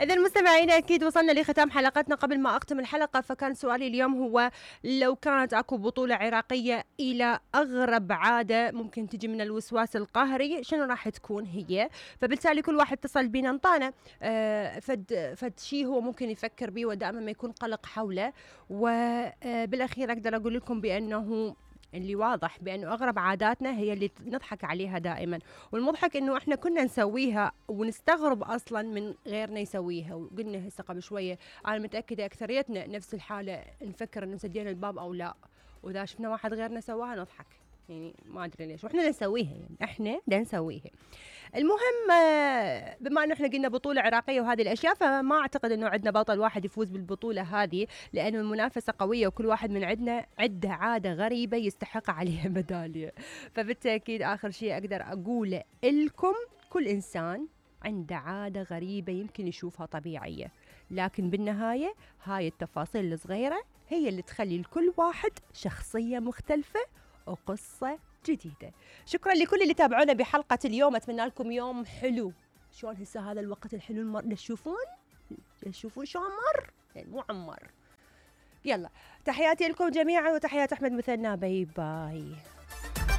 إذا مستمعينا أكيد وصلنا لختام حلقتنا. قبل ما أختم الحلقة فكان سؤالي اليوم هو لو كانت أكو بطولة عراقية إلى أغرب عادة ممكن تجي من الوسواس القهري شنو راح تكون هي؟ فبالتالي كل واحد اتصل بينا انطانا فد شيء هو ممكن يفكر به ودائما ما يكون قلق حوله. وبالأخير أقدر أقول لكم بأنه اللي واضح بأنه أغرب عاداتنا هي اللي نضحك عليها دائما، والمضحك إنه إحنا كنا نسويها ونستغرب أصلا من غيرنا يسويها. وقلنا هسه قبل شوية أنا متأكدة أكثريتنا نفس الحالة، نفكر إنه سدينا الباب أو لا، وإذا شفنا واحد غيرنا سواها نضحك، يعني ما أدري ليش وإحنا نسويها، يعني إحنا نسويها. المهم بما أنه إحنا قلنا بطولة عراقية وهذه الأشياء، فما أعتقد أنه عندنا بطل واحد يفوز بالبطولة هذه، لأنه المنافسة قوية وكل واحد من عندنا عنده عادة غريبة يستحق عليها ميدالية. فبالتأكيد آخر شيء أقدر أقوله لكم، كل إنسان عنده عادة غريبة يمكن يشوفها طبيعية، لكن بالنهاية هاي التفاصيل الصغيرة هي اللي تخلي لكل واحد شخصية مختلفة وقصة جديدة. شكرا لكل اللي تابعونا بحلقة اليوم، أتمنى لكم يوم حلو. شلون هسه هذا الوقت الحلو تشوفون شو عمر، يعني مو عمر. يلا تحياتي لكم جميعا وتحيات أحمد مثنى، باي باي.